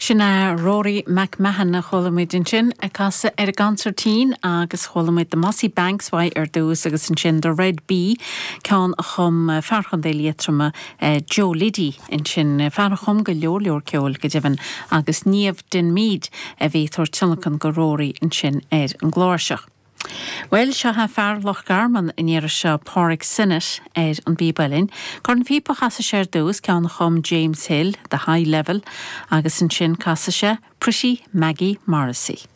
Sin é Rory McMahon a chuala muid ansin ag casadh ar an gconsairtín agus chuala muid The Mossy Banks uaidh ar dtús agus ansin The Red Bee, ceann a chum fear Chontae Liatroma, Joe Liddy ansin, fear a chum go leor leor ceoil go deimhin agus Niamh Denmeade a bhí ag tabhairt tionlacan go Rory ansin ar an gcláirseach. Bhuel, seo é fear Loch Garman an iarraidh seo, Pádraig Synnott, ar an bpíb uilleann. Cornphíopa a chasfaidh sé ar dtús, ceann a chum James Hill, The High Level, agus ansin casfaidh sé Pretty Maggie Morrissey.